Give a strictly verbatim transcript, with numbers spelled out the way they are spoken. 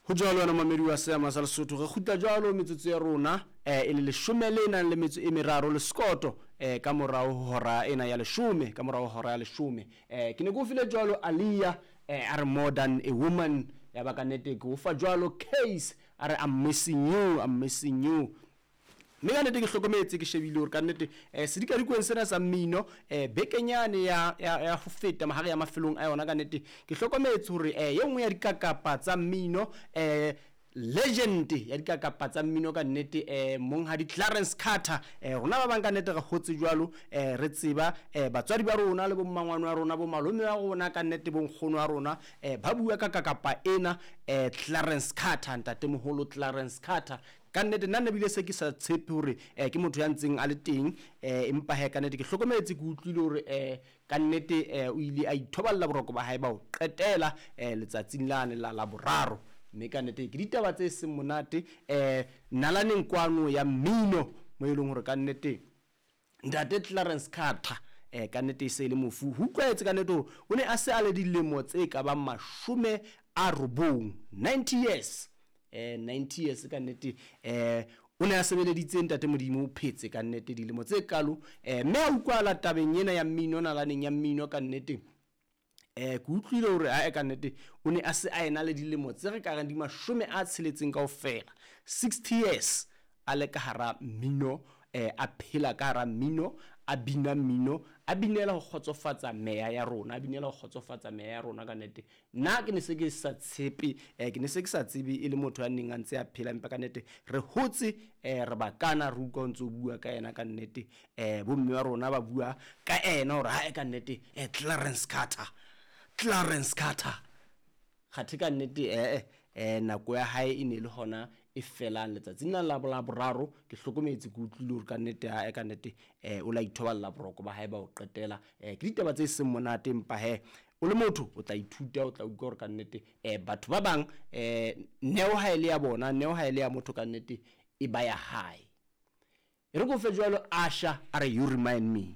Ho jwalo wena momamedi wa Seama sa Lesotho, re kgutla jwalo metsotso ya rona eh, e le leshome le nang le metso e meraro le sekoto eh, ka morao ho hora ena ya leshome, ka morao ho hora ya leshome. eh, ke ne ke o file jwalo Alia, eh, a re "More Than a Woman". Ya ba ka nnete ke o fa jwalo Case, a re "I'm Missing You", "I'm Missing You". Mme ka nnete ke hlokometse, ke shebile hore ka nnete um sedikadikweng sena sa mmino um bekenyane ya, ya, ya ho feta mahare ya mafelong a yona, ka nnete ke hlokometse hore um ye nngwe ya dikakapa tsa mmino, um legend ya dikakapa tsa mmino ka nnete, um monghadi Clarence Carter. um rona ba bang ka nnete re hotse jwalo, um re tseba um batswadi ba rona le bommangwane wa rona, bo malome wa rona ka nnete, bonkgono wa rona, um ba bua ka kakapa ena, um Clarence Carter, ntatemoholo Clarence Carter. Ka nnete nna nne bile se ke sa tshepe hore um ke motho ya ntseng a le teng, um empa he ka nnete ke hlokometse, ke utlwile hore um ka nnete um o ile a ithoballa boroko ba hae ba ho qetela um letsatsing lane la la boraro. Mme ka nnete ke ditaba tse seng monate um nalaneng kwano ya mmino, mo e leng hore ka nnete ntate Clarence Carter um ka nnete e se e le mofu. Ho utlwahetse ka nnete hore o ne a se a le dilemo tse ka bang mashome a robong, ninety years, eh ninety years ka nnete. eh o ne a sebeleditse ntate Modimo, o phetse ka nnete dilemo tse kalo. eh mme a utlwahala tabeng ena ya mmino, nalaneng ya mmino ka nnete, eh ke utlwile hore ae ka nnete o ne a se a ena le dilemo tse re ka reng di mashome a tsheletseng kaofela, sixty years a le ka hara mmino, eh a phela ka hara mmino, a bina mmino, a binela ho kgotsofatsa meya ya rona, a binela ho kgotsofatsa meya ya rona ka nnete. Nna ke ne se ke sa tshepe, eh ke ne se ke sa tsebe e le motho ya neng a ntse a phela, empa ka nnete re hotse eh re bakana re utlwa o ntso bua ka yena ka nnete. eh bomme ba rona ba bua ka ena hore hae ka nnete eh Clarence Carter, Clarence Carter kgathe ka nnete eh eh nako ya hae e ne le hona e felang letsatsing la la boraro. Ke hlokometse, ke utlwile hore ka nnete hae ka nnete eh o la ithoballa boroko ba hae ba ho qetela. eh ke ditaba tse seng monate, empa he o le motho o tla ithuta, o tla utlwa hore ka nnete eh batho ba bang eh neo ha e le ya bona, neo ha e le ya motho ka nnete e ba ya hae. E re ko fe jwalo Asha, a re "You Remind Me".